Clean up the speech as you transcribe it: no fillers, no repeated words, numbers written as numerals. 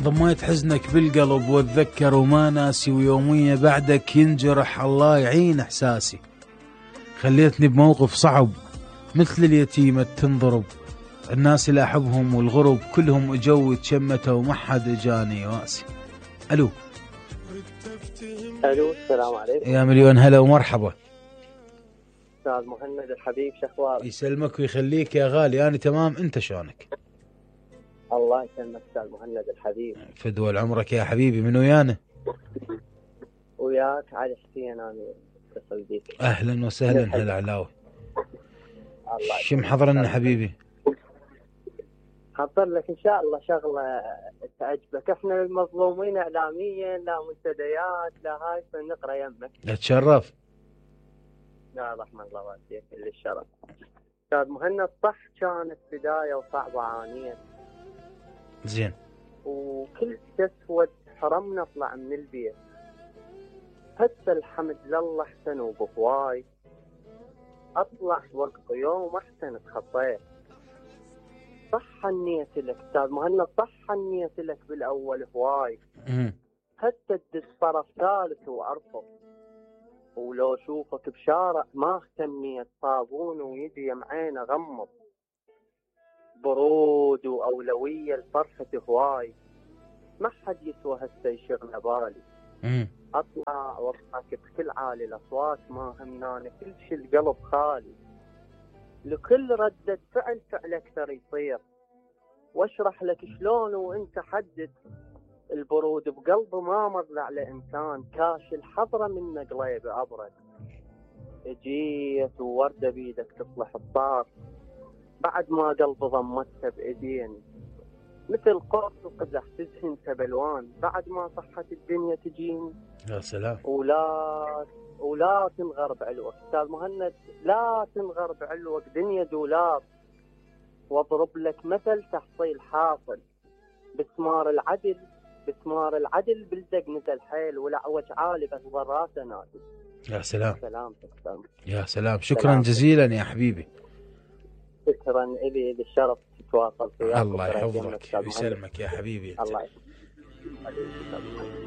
ضميت حزنك بالقلب واتذكر وما ناسي، ويومية بعدك ينجرح الله يعين احساسي. خليتني بموقف صعب مثل اليتيمة تنضرب، الناس اللي احبهم والغرب كلهم اجوا تشمتوا وما حد اجاني واسي. الو السلام عليكم. يا مليون هلا ومرحبا. استاذ مهند الحبيب، شخبارك؟ يسلمك ويخليك يا غالي، انا تمام، انت شلونك؟ الله يسلمك استاذ مهند الحبيب. فدوى عمرك يا حبيبي، من ويانا؟ وياك علي حسين، انا اتصل بيك. اهلا وسهلا هلا علاوي. شو محضر لنا حبيبي؟ حضر لك ان شاء الله شغله تعجبك. احنا المظلومين اعلاميا، لا منتديات لا هاي، فنقرا يمك. اتشرف. لا رحمة الله واسيك كل الشرف. استاذ مهند، صح كانت بدايه وصعبه عانيه، زين، وكل اسود حرمنا نطلع من البيت، حتى الحمد لله احسن وبهواي، اطلع وقت يوم احسن تخطيت. صح النية لك استاذ مهند، صح النية لك بالاول هواي، حتى تدس طرف ثالث وارفض، ولو شوفك بشارع ما اهتميت، صابون ويدي معينه غمض، برود واولويه لفرحة هواي، ما حد يسوى هسه يشغل بالي. اطلع واضحك بكل عالي الاصوات، ما همناني كل شي القلب خالي، لكل ردة فعل فعل اكثر يصير، واشرح لك شلون وانت حدد، البرود بقلبه ما مضلع لانسان، كاش الحضره من قليب ابرد، اجيت وورده بيدك تصلح الطار، بعد ما قلبي ضمتها بايدين، مثل قرص وقزح تزهنت بالوان، بعد ما صحت الدنيا تجيني. يا سلام. ولا تنغر بعلوك استاذ مهند، لا تنغر بعلوك، دنيا دولار، واضرب لك مثل تحصيل حاصل، بسمار العدل بلدق مثل حيل، والعوج عالي بس ضراته نادي. يا سلام. سلامتك استاذ. يا سلام، شكرا جزيلا يا حبيبي. شكرا، الي الشرف تتواصل فيك. الله يحفظك ويسلمك يا حبيبي. الله يحفظك.